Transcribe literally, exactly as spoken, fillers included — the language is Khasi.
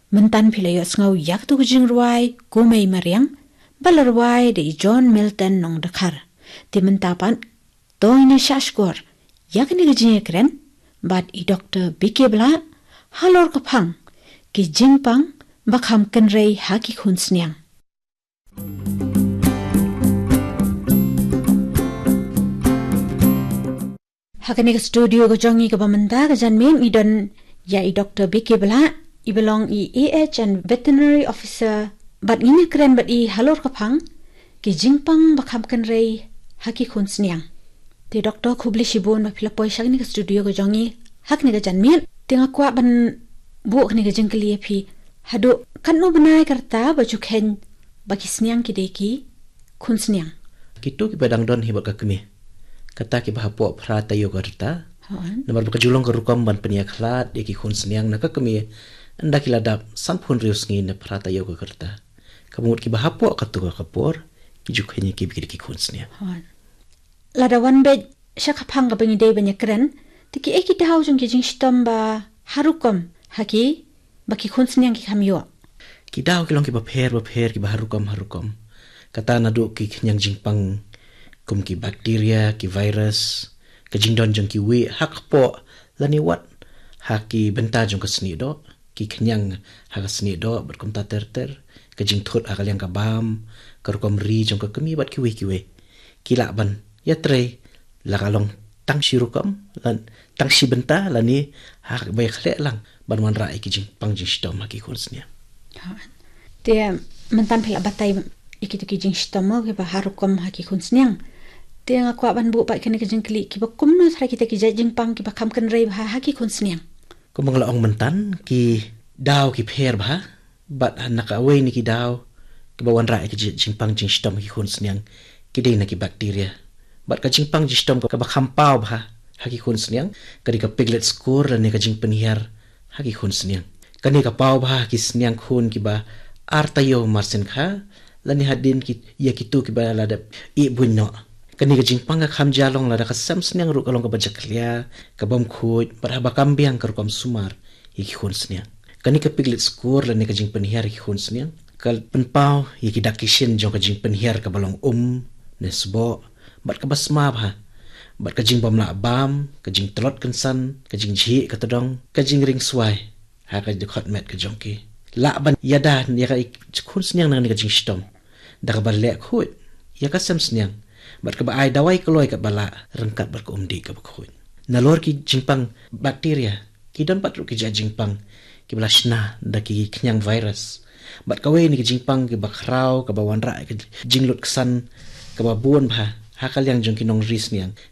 Mynta phi la ïohsngew ïa katto ka jingrwai Kumei Mariang, ba la rwai da i John Milton Nongdkhar. Te mynta pat, to ngin ïa shah shkor ïa kane ka jingïakren bad i Doktor B K Blah, halor ka phang ki jingpang ba kham kynrei ha ki khun sniang. Ha kane ka studio ka jong ngi kaba mynta ka janmiet ngi don ïa i Doktor B K Blah, i ba long i A H and Veterinary Officer, bad ngin ïakren bad i halor ka phang ki jingpang ba kham kynrei ha ki khun sniang. Te Doktor, khublei shibun ba phi la poi sha kane ka studio ka jong ngi ha kane ka janmiet. Te nga kwah ban buh kane ka jingkylli ïa phi, haduh katno bnai ka rta ba ju kheiñ ba ki sniang ki dei ki khun sniang? Kito kiba dang don hi bad ka kmie, kata kiba hapoh phra taïew ka rta. Hooid. Namar ba ka ju long ka rukom ban pynïakhlad ïa ki khun sniang na ka kmie, ynda ki la dap sanphew hynriew sngi ne phra taïew ka rta. Ka mut kiba hapoh katto ka por ki ju kheiñ ïa ki ba ki dei ki khun sniang. Hooid. Lada wan beit sha ka phang kaba ngi dei ban ïakren, te kiei ki daw jong ki jingshitom ba ha rukom ha ki, ba ki khun sniang ki kham ïoh? Ki daw ki long kiba pher bapher, kiba ha rukom ha rukom. Kata naduh ki khñiang jingpang kum ki bakteria, ki virus, ka jingdon jong ki wih ha kpoh lane wat ha ki bynta jong ka snieh doh, ki khñiang ha ka snieh doh bad kumta ter ter, ka jingthut ha ka liang ka bam, ka rukom ri jong ka kmie bad kiwei kiwei. Ki lah ban ïatrei, la ka long tang shi rukom, la tang shi bynta, lane ha kaba ïakhleh lang ban wanrah ïa ki jingpang jingshitom ha ki khun sniang. Ha. Te mynta phi la batai ïa kito ki jingshitom kiba ha rukom ha ki khun sniang. Te nga kwah ban buh pat kane ka jingkylli, kiba kumno sha kita ki jait jingpang kiba kham kynrei bha ha ki khun sniang? Kumba nga la ong mynta, ki daw ki pher bha, bad na kawei na ki daw kiba wanrah ïa ki ji-, jingpang jingshitom ha ki khun sniang, ki dei na ki bakteria. Bad ka jingpang jingshitom kaba kham paw bha ha ki khun sniang ka dei ka piglet score lane ka jingpynhiar ha ki khun sniang. Kane ka paw bha ha ki sniang khun kiba ar taïew mar sien kha, lane hadien ki, ïa kito kiba la dep ïeh buiñ noh. Kane ka jingpang ka kham jia long lada ka sem sniang ruh ka long kaba jakhlia, ka bym khuid, bad haba kam biang ka rukom sumar ïa ki khun sniang. Kane ka piglet score lane ka jingpynhiar ïa ki khun sniang ka pynpaw ïa ki dak ki shin jong ka jingpynhiar kaba long um ne sboh, bad kaba sma bha, bad ka jingbym lah bam, ka jingtlot kynsan, ka jingjhieh ka tdong, ka jingring swai ha ka dkhot met ka jong ki. Lah ban ïada ïa ka khun sniang na kane ka jingshitom da kaba leh khuid ïa ka sem sniang, bad kaba ai dawai kloi katba lah ryngkat bad ka umdih kaba khuid. Nalor ki jingpang bakteria, ki don pat ruh ki jait jingpang kiba la shna da ki khñiang virus. Bad kawei na ki jingpang kiba khraw kaba wanrah ka jinglut ksan kaba bun bha ha ka liang jong ki nongri sniang,